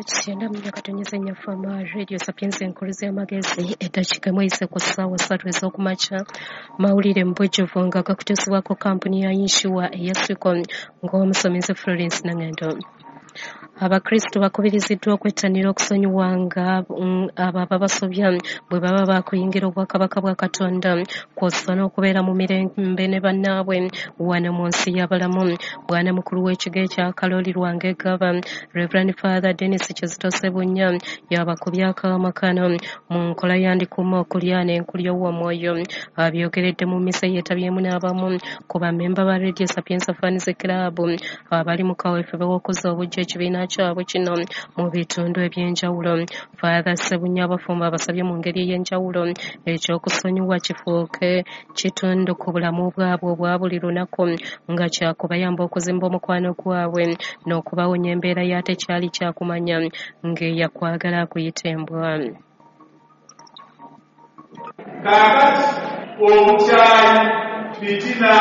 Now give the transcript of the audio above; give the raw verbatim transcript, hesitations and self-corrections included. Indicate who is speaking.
Speaker 1: Kyenda mu katonyeza Nyafama Radio Sapienza enkuluzi y'amagezi. Eddakiika emu eyise ku ssaawa ssatu ez'okumakya. Mawulire mu bujjuvu nga gakutuusibwako kampuni ya yinsuwa eya Swico ng'omusomesa Florence Nangendo. Abakristu bakubiriziddwa okwettanira okusonyiwanga abo ababasobya bwe baba baakuyingira obwakabaka bwa Katonda, kw'ossa n'okubeera mu mirembe ne bannaabwe wano mu nsi y'abalamu. Bwana mukulu w'ekigo ekya Kalooli Lwanga Gaba, Reverend Father Dennis Kizito Ssebunya, y'abakubye akaama kano mu nkola ya Ndikuuma Okulya n'Enkulya Ow'Omwoyo. Abyogeredde mu mmisa yeetabyemu n'abamu ku bammemba ba Radio Sapienza Fans Club abali mu kaweefube w'okuzza obuggya ekibiina kyabwe kino mu bitundu eby'enjawulo. Father Ssebunya abafumbo abasabye mu ngeri ey'enjawulo ekyokusonyiwa kifuuke kitundu ku bulamu bwabwe obwa buli lunaku, nga kyakubayamba okuzimba omukwano gwabwe n'okubawonya embeera ya tekyali kyakumanya ng'eyakwagala akuyita embwa.
Speaker 2: Kaakati obukyayi, fitina,